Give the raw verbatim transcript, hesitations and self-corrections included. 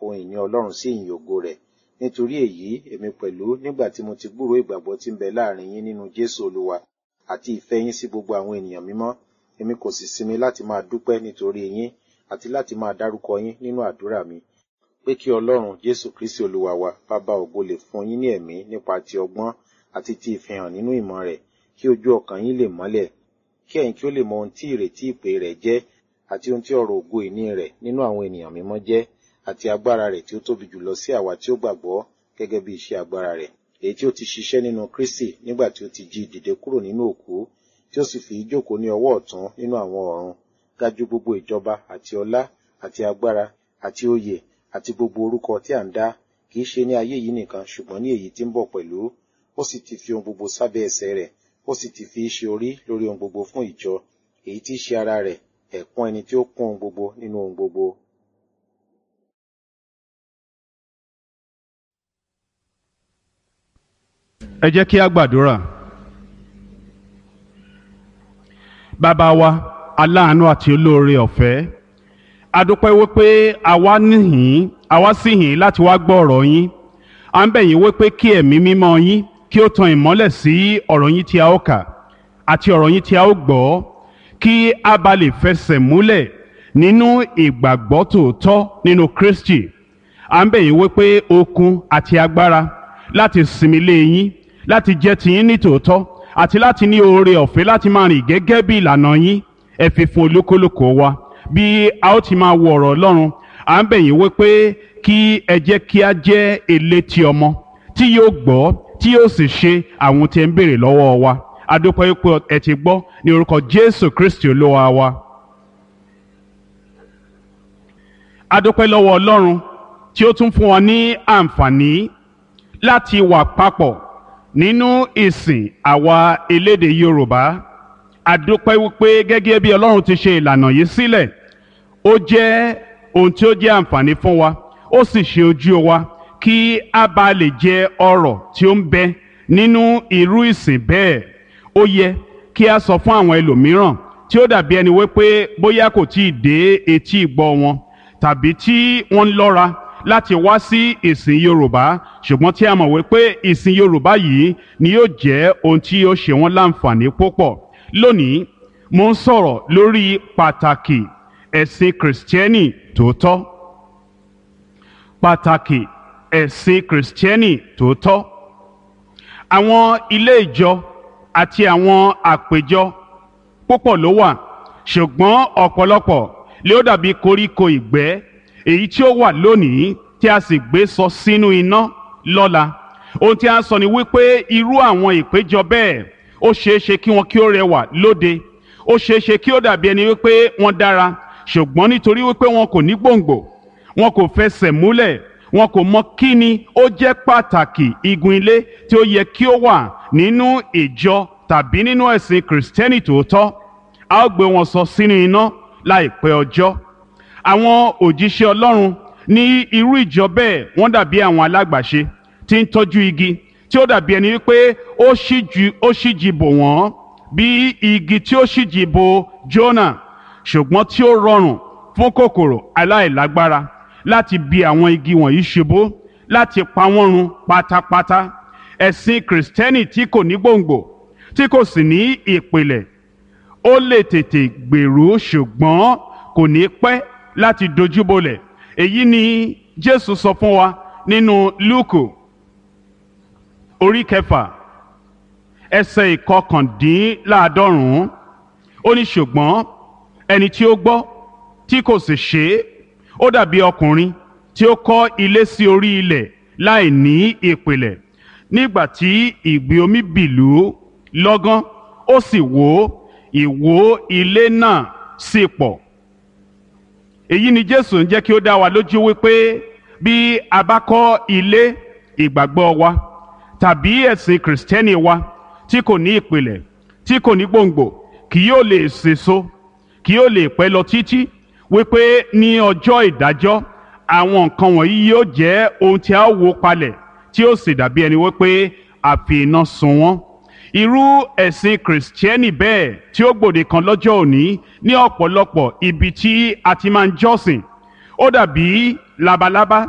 Ohun ìní Ọlọ́run sí ìyìn ògo rẹ̀. Nítorí èyí, èmi pẹ̀lú, nígbà tí mo ti gbúròó ìgbàgbọ́ tí ń bẹ láàrin yín nínú Jésù Olúwa, àti ìfẹ́ yín sí gbogbo àwọn ènìyàn mímọ́, èmi kò sì sinmi láti máa dúpẹ́ nítorí yín, àti láti máa dárúkọ yín nínú àdúrà mi, pé kí Ọlọ́run Jésù Kristi Olúwa wa, Baba ògo lè fún yín ní ẹ̀mí nípa ti ọgbọ́n àti ti ìfihàn nínú ìmọ̀ rẹ̀, kí ojú ọkàn yín lè mọ́lẹ̀, kí ẹ̀yin kí ó lè mọ ohun tí ìrètí ìpè rẹ̀ jẹ́, àti ohun tí ọrọ̀ ògo ìní rẹ̀ nínú àwọn ènìyàn mímọ́ jẹ́, àti agbára rẹ̀ tí ó tóbi jùlọ sí àwa tí ó gbàgbọ́ gẹ́gẹ́ bí iṣẹ́ agbára rẹ̀, èyí tí ó ti ṣiṣẹ́ nínú Kristi nígbà tí ó ti jí dìde kúrò nínú òkú, tí ó sì fi í jókòó ní ọwọ́ ọ̀tún nínú àwọn ọ̀run, ga ju gbogbo ìjọba àti ọlá àti agbára àti oyè àti gbogbo orúkọ tí à ń dá, kì í ṣe ní ayé yìí nìkan ṣùgbọ́n ní èyí tí ń bọ̀ pẹ̀lú. Ó sì ti fi ohun gbogbo sábẹ́ ẹsẹ̀ rẹ̀, ó sì ti fi í ṣe orí lórí ohun gbogbo fún ìjọ, èyí tí í ṣe ara rẹ̀, ẹ̀kún ẹni tí ó kún ohun gbogbo nínú ohun gbogbo. Ẹ jẹ́ kí a gbàdúrà. Bàbá wa, aláàánú àti olóore ọ̀fẹ́, a dúpẹ́ wípé àwa níhìn, àwa sì hìn láti wá gbọ́ ọ̀rọ̀ yín. À ń bẹ̀ yín wípé kí ẹ̀mí mímọ́ yín kí ó tan ìmọ́lẹ̀ sí ọ̀rọ̀ yín tí a ó kà àti ọ̀rọ̀ yín tí a ó gbọ́, kí a bá lè fẹsẹ̀ múlẹ̀ nínú ìgbàgbọ́ tòótọ́ nínú Kristi. À ń bẹ̀ yín wípé okun àti agbára láti sinmi lé yín, láti jẹ́ tiyín ní tòótọ́, àti láti ní oore ọ̀fẹ́ láti máa rìn gẹ́gẹ́ bí ìlànà yín, ẹ fi fún olúkúlùkù wa. Bí a ó ti máa wo ọ̀rọ̀ Ọlọ́run, à ń bẹ̀ yín wípé kí ẹ jẹ́ kí a jẹ́ elétí ọmọ tí yóò gbọ́, tí yóò sì ṣe àwọn tí ẹ ń béèrè lọ́wọ́ wa. A dúpẹ́ wípé ẹ ti gbọ́ ní orúkọ Jésù Kristi Olúwa wa. A dúpẹ́ lọ́wọ́ Ọlọ́run tí ó tún fún wa ní àǹfààní láti wà papọ̀ nínú ìsìn àwa elédè Yorùbá. A dúpẹ́ wípé gẹ́gẹ́ bí Ọlọ́run ti ṣe ìlànà yìí sílẹ̀, ó jẹ́ ohun tí ó jẹ́ àǹfààní fún wa, ó sì ṣe ojú wa kí a bá lè jẹ ọrọ̀ tí ó ń bẹ nínú irú ìsìn bẹ́ẹ̀. Ó yẹ kí a sọ fún àwọn ẹlòmíràn tí ó dàbí ẹni wípé bóyá kò tí ì dé etí ìgbọ́ wọn, tàbí tí wọ́n ń lọ́ra láti wá sí ìsìn Yorùbá, ṣùgbọ́n tí a mọ̀ wípé ìsìn Yorùbá yìí ni yóò jẹ́ ohun tí yóò ṣe wọ́n láǹfààní púpọ̀. Lónìí, mo ń sọ̀rọ̀ lórí pàtàkì ẹ̀sìn Kìrìsìtẹ́nì tòótọ́. Pàtàkì ẹ̀sìn Kìrìsìtẹ́nì tòótọ́. Àwọn ilé ìjọ àti àwọn àpèjọ púpọ̀ ló wà, ṣùgbọ́n ọ̀pọ̀lọpọ̀ ló dàbí koríko ìgbẹ́ èyí tí ó wà lónìí tí a sì gbé sọ sínú iná lọ́la. Ohun tí a ń sọ ni wípé irú àwọn ìpéjọ bẹ́ẹ̀, ó ṣeé ṣe kí wọn kí ó rẹwà lóde, ó ṣeé ṣe kí ó dàbí ẹni wípé wọ́n dára, ṣùgbọ́n nítorí wípé wọn kò ní gbòǹgbò, wọn kò fẹsẹ̀ múlẹ̀, wọn kò mọ kí ni ó jẹ́ pàtàkì igun ilé tí ó yẹ kí ó wà nínú ìjọ tàbí nínú ẹ̀sìn Kìrìsìtẹ́nì tòótọ́, a ó gbé wọn sọ sínú iná láìpẹ́ ọjọ́. Àwọn òjíṣẹ́ Ọlọ́run ní irú ìjọ bẹ́ẹ̀, wọ́n dàbí àwọn alágbàṣe tí ń tọ́jú igi tí ó dàbí ẹni wípé ó ṣíjú ó ṣíji bò wọ́n bí igi tí ó ṣíji bò Jónà, ṣùgbọ́n tí ó rọrùn fún kòkòrò aláìlágbára láti bi àwọn igi wọ̀nyí ṣubú, láti pa wọ́n run pátápátá. Ẹ̀sìn Kìrìsìtẹ́nì tí kò ní gbòǹgbò, tí kò sì ní ìpìlẹ̀, ó lè tètè gbèrú ṣùgbọ́n kò ní pẹ́ láti dojúbolẹ̀. Èyí ni Jésù sọ fún wa nínú Lúùkù orí kẹfà ẹsẹ̀ ìkọkàndínláàádọ́rùn-ún. Ó ní ṣùgbọ́n ẹni tí ó gbọ́ tí kò sì ṣe é, ó dàbí ọkùnrin tí ó kọ́ ilé sí orí ilẹ̀ láì ní ìpìlẹ̀. Nígbà tí ìgbì omi bìlú lọ́gán, ó sì wó, ìwó ilé náà sì pọ̀. Èyí ni Jésù ń jẹ́ kí ó dá wa lójú wípé bí a bá kọ́ ilé ìgbàgbọ́ wa tàbí ẹ̀sìn Kìrìsìtẹ́nì wa tí kò ní ìpìlẹ̀, tí kò ní gbòǹgbò, kì yóò lè sèso, kì yóò lè pẹ́ lọ títí, wípé ní ọjọ́ ìdájọ́ àwọn nǹkan wọ̀nyí yóò jẹ́ ohun tí a ó wó palẹ̀, tí ó sì dàbí ẹni wípé a fi iná sun wọ́n. Irú ẹ̀sìn Kìrìsìtẹ́nì bẹ́ẹ̀ tí ó gbòde kan lọ́jọ́ òní ní ọ̀pọ̀lọpọ̀ ibi tí a ti máa ń jọ́sìn, ó dàbí labalábá.